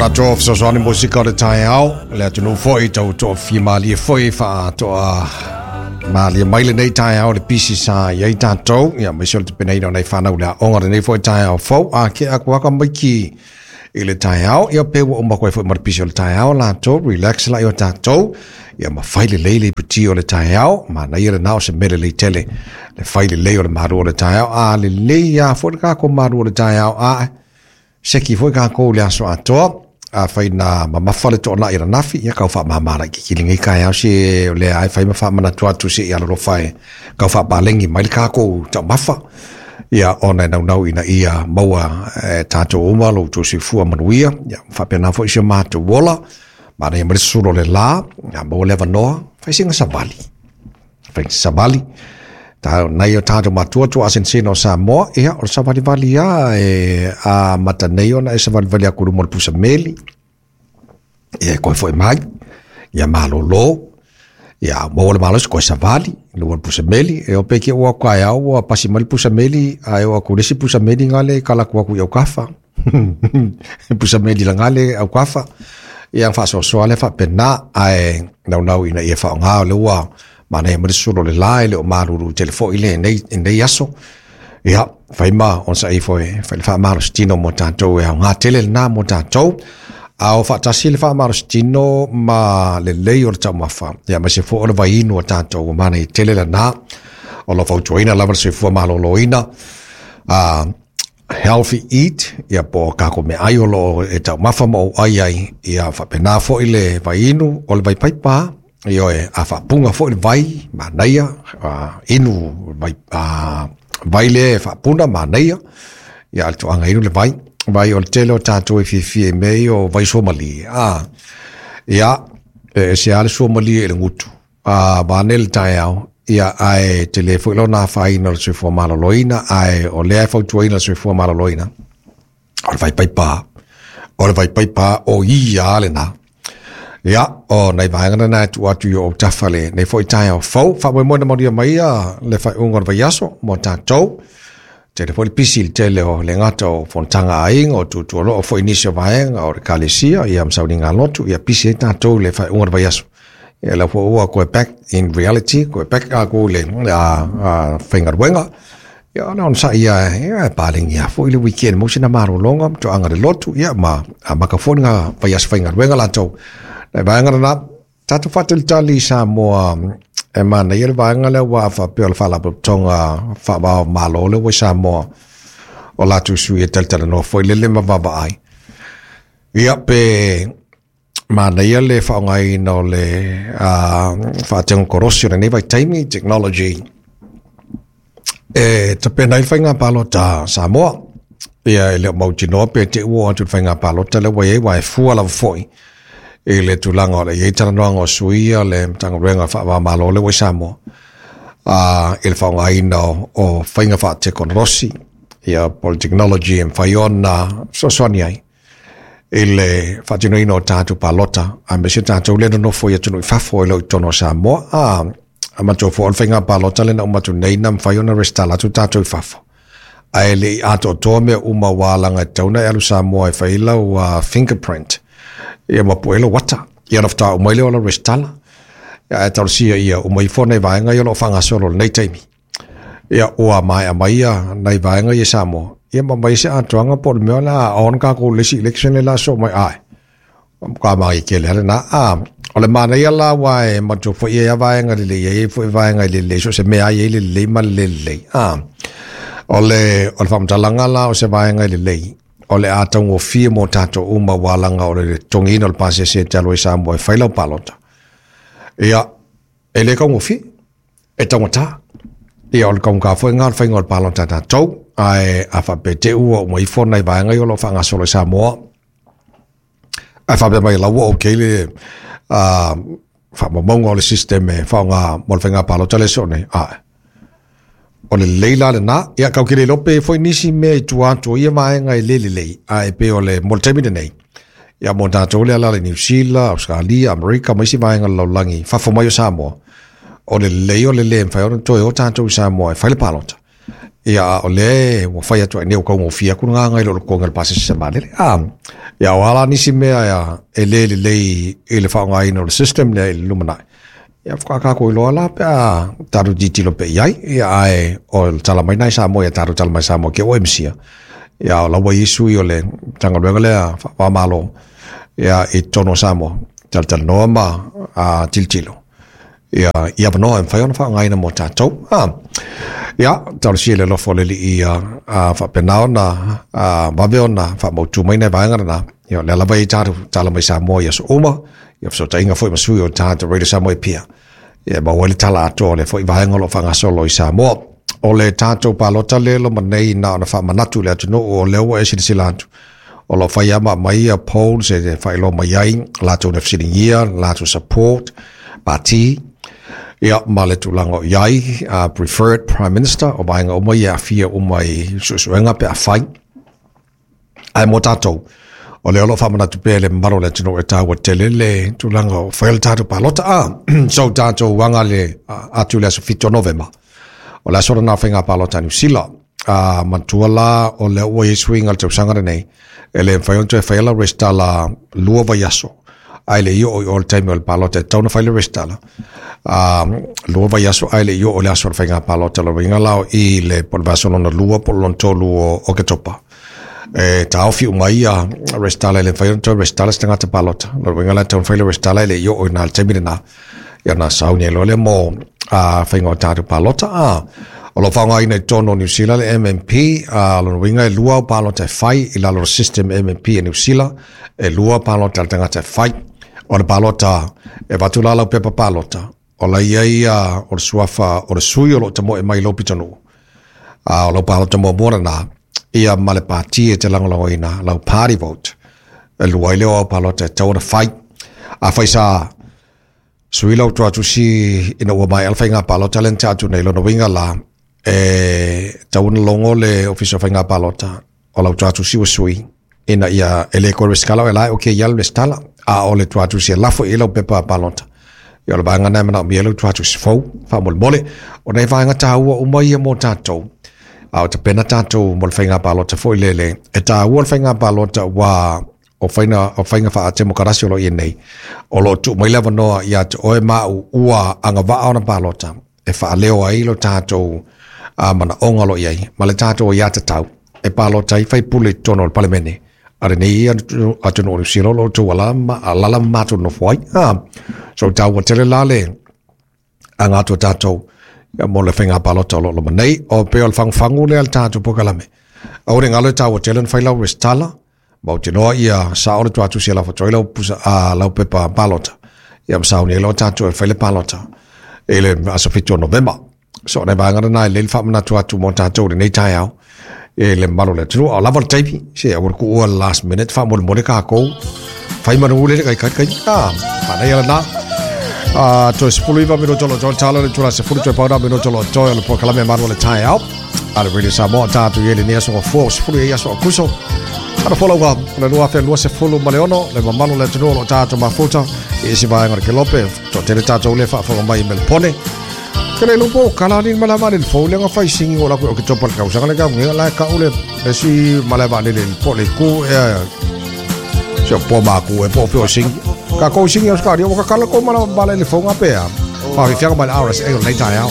Tatou fesoasoani musika o le taeao, le atunuu foi tau toafia malie foi faatoa malie mai lenei taeao le pisi sa i ai tatou, ia aemaise o le tapenaina o nai fanau le aoga lenei foi taeao fou, a ke aku aka maiki i le taeao, ia pe ua uma koe foi ma le pisi o le taeao latou, relax la i o tatou, ia ma fai lelei le iputi o le taeao, manaia lena o se mea lelei tele, le fai lelei o le malu o le taeao, a lelei lava foi le tatou malu o le taeao, a seki foi tatou i le aso atoa, afai na mamafa le toanai ananafi, ia tau faamama laitiiti lenei taeao se o lea e fai ma faamanatu atu se i alolofa e tau faapaleni mai le tatou taumafa, ia ona e naunau ina ia maua e tatou uma lo outou soifua manuia, ia faapena foi si o matou ola, manaia mai le susulu o le la, ia maua le avanoa, fai sina savali, fai sina savali, ta, nai o tatou matua tua asenesene o Samoa, ia o le savalivali lava e amata nei ona e savalivali atu i luma o le pusa meli, ia e toe foi mai, ia malolo, ia maua le malosi toe savali i luma o le pusa meli, e o pe te ua atu taeao ua pasi mai le pusa meli, ae oo atu i le isi pusa meli na le tala atu atu i autafa. Pusa meli laga le autafa, ia faasoasoa lea faapena, ae naunau ina ia faaaoga o lea ua manaia mai le susulu o le la, e le o malulu tele foi lenei aso. Ia, fai ma onosai ifo e fai le faamalositino mo tatou e aoga tele lena mo tatou. A o faatasi le faamalositino ma lelei o le taumafa, ia aemaise foi o le vaiinu a tatou ua manaia tele lena. O lo o fautuaina lava le soifua maloloina, healthy eat, ia po o tatou meaai o lo o e taumafa ma ou ai ai, ia faapena foi le vaiinu o le vaipaipa, ioe, a faapuga foi le vai, manaia, inu vai, vai lea e faapuna, manaia, ia a le toaga inu le vai, vai o le tele o tatou e fiafia i mea ia o vai suamalie, ia, e ese lava le suamalie i le gutu, vaeane le taeao, ia ae tele foi lona afaina o le soifua maloloina, ae o lea e fautuaina le soifua maloloina, o le vaipaipa, o le vaipaipa o ia lava lena. Ia, o nai vaega na e tuu atu i ou autafa lenei foi taeao fou. Faamoemoe na manuia mai le faaiuga o le vaiaso mo tatou. Tele foi le pisi i le tele o le gata o fonotaga a aiga, o tutualoa foi nisi o vaega o le ekalesia, ia ma sauniga lotu, ia pisi ai tatou le faaiuga o le vaiaso. Ia la foi ua koe back in reality, koe back tatou i le faigaluega. Ia ona onosai ia, ia e paleni lava foi le weekend mo sina malologa ma toaga le lotu, ia ma amata foi ngā vaiaso faigaluega latou. Nai vaega lena, tatou faatalitali i Samoa e manaia le vaega lea ua faapea o le faalapotopotoga faavao malo lea ua i Samoa o latou sui e talatalanoa foi lele ma vaavaai. Ia pe manaia le faaaogaina o le faatekonolosi o lenei vaitaimi, technology, e tapena ai le faiga palota a Samoa. Ia e le o mautinoa pe te i ua oo atu i le faiga palota lea ua i ai, aua e fua lava foi i le tulaga o le i ai talanoaga o sui ia le Matagaluega faava-o-Malo lea ua i Samoa, i le faaaogaina o faiga faatekonolosi, ia po o le technology e mafai ona fesoasoani ai i le faatinoina o tatou palota, aemaise tatou lea nonofo i atunuu i fafo e le o i totonu o Samoa. A matou foi o le faiga palota lea na uma atu nei na mafai ona resitala atu tatou i fafo, ae le i atoatoa mea uma ua alaga e tatau ona e alu Samoa e fai lau fingerprint, ia ma pue lau ata, ia ona faatoa uma ai lea o lau resitala. Ia, ae talosia ia uma ifo nai vaega ia o lo o faagasolo i lenei taimi. Ia ua maea mai ia nai vaega ia i Samoa, ia ma aumai se atoaga po o le mea o le a on tatou i le isi election lea o le a sosoo mai, ae matua manaia tele lava lena. O le manaia la aua e matua foi e i ai lava vaega lelei e i ai foi vaega e lelei, so o se mea lava e i ai le lelei ma le le lelei. O le faamatalaga la o se vaega e lelei, o le a taugofie mo tatou uma aua leaga o le totogiina o le pasese e te alu ai i Samoa e fai lau palota. Ia, e le taugofie, e taugata. Ia, o le taugata foi lena o le faiga o le palota a tatou, ae a faapea te i ua uma ifo nai vaega ia o lo o faagasolo i Samoa, ae faapea mai la ua okay le faamaumauga o le system e faaaoga mo le faiga palota lea e sosoo nei, ae o le lelei la lena. Ia, tatou te le iloa pe i ai foi nisi mea i tua atu o ia vaega e le lelei, ae pei o le mo le taimi lenei, ia mo tatou le alaala i Niu Sila, Ausetalia, Amerika ma isi vaega o le lalolagi i fafo mai o Samoa, o le lelei o le le mafai ona toe o tatou i Samoa e fai le palota. Ia, a o lea ua fai atu ai nei ua taugofie atu le gaga i lo le totogi o le pasese vaalele. A, ia o a la nisi mea ia, e le lelei i le faaaogaina o le system lea i le lumanai, ia faatoa tatou iloa la pe a tatou tilotilo pea i ai. Ia ae o le tala mai lena i Samoa, ia tatou tala mai Samoa ke ua e misia. Ia o la ua i ai sui o le Matagaluega lea faava-o-Malo ia i totonu o Samoa, talatalanoa ma tilotilo ia i avanoa e mafai ona faaaogaina mo tatou. Ia, talosia i le alofa o le Alii ia faapena ona vave ona faamautu mai nai vaega na. Ia, o lea lava e i ai tatou tala mai Samoa i aso uma, ia fesootaiga foi ma sui o tatou Radio Samoa i Apia. Ia, e maua ai le tala atoa o lea foi vaega o lo o faagasolo i Samoa. O le tatou palota lea e loma nei na ona faamanatu i le atunuu o lea ua e silasila atu. O lo o fai lava ma aumai ia polls e faailoa mai ai latou na fesiligia, latou support, pati, ia ma le tulaga o i ai, preferred prime minister, o vaega uma ia e aafia uma i suesuega pe a fai. Ae mo tatou, o lea o lo o faamanatu pea i le mamalu o le atunuu e taua tele le tulaga o fai le tatou palota. So tatou aga le atu i le aso 7 o Novema, o le aso lena o faiga palota a Niu Sila. Manatua la o lea ua i ai suiga i le tausaga lenei, e le mafai ona toe faia lau resitala 2 vaiaso, ae le i oo i o le taimi o le palota e tatau ona fai le resitala. 2 vaiaso ae le i oo i le aso o le faiga palota, lona uiga la o i le po o le vaiaso lona 2 po o le lona 3 o Oketopa. E taofi uma ai ia resitala, e le mafai ona toe resitala se tagata palota. Lona uiga la e tatau ona fai le resitala e le i oo i ina le taimi lena. Ia ona sauni ai loa lea mo faiga o tatou palota. O lo o faaaogaina i totonu o Niu Sila le MMP, lona uiga e 2 au palota e fai i lalo o le system MMP a Niu Sila, e 2 palota a le tagata e fai. O le palota e avatu la lau pepa palota, o la i ai o le suafa o le sui o lo o tamoe mai i lou pitonuu. O lau palota muamua lena, ia ma le pati e te lagolagoina, lau party vote. E lua ai lea o au palota e tatau ona fai. Afai sa sui lau tuatusi ina ua maea le faiga palota lea na tea atu nei, lona uiga la, e tatau ona logo le Ofisa o Faiga Palota o lau tuatusi ua sui, ina ia e le toe resitala oe la e okay ia le resitala, a o le tuatusi e lafo i ai lau pepa palota. Ia o le vaega lena e manaomia ai lau tuatusi fou, faamolemole. O nai vaega taua uma ia mo tatou, a o tapena tatou mo le faiga palota foi lele. E taua le faiga palota ua o faiga faatemokarasi o lo o i ai nei, o lo o tuu mai le avanoa ia te oe ma au ua agavaa ona palota e faaleo ai lo tatou manaoga o lo o i ai ma le tatou aiatatau e palota ai faipule i totonu o le Palemene a lenei atunuu o Niu Sila o lo o outou alaala ma matou nofo ai. So taua tele la le aga atu o tatou mo le faiga palota o lo o loma nei. O pei o le fagufagu lea le tatou polokalame. Aua ne i galo e taua tele ona fai lau resitala, mautinoa ia sao le tuatusi e lafo atu ai lau pusa, lau pepa palota. Ia ma sauni ai loa tatou e fai le palota i le aso 7 o Novema. So, o nai vaega lena e lelei le faamanatu atu mo tatou i lenei taeao i le mamalu o le atunuu. A o lava le taimi, se aua le tuua le last minute, faamolemole tatou. Fai manu le kai kai kai. Manaia lena. Toe 19 minuto o lo o toe tala le itula 10 toe pauna minuto o lo o toe o le polokalame malu o le taeao. A le Radio Samoa tatou i ai lenei aso gafua o 10 i aso Akuso. Ana folauga o le 2026, le mamalu o le atunuu o lo o tatou mafuta i isi vaega o le kelope. Toatele tatou le faafofoga mai i Melpone. Ke le lupo kala ni mala vale le fou le nga fai singi o la ku o ke topa le kausaga le kau nge la ka u le le si mala vale le po le ku e se po ma ku e po fio singi ka ko singi o ska ri o ka kala ko mala vale le fou nga pe a fa fi fianga mai le RSA o le taeao.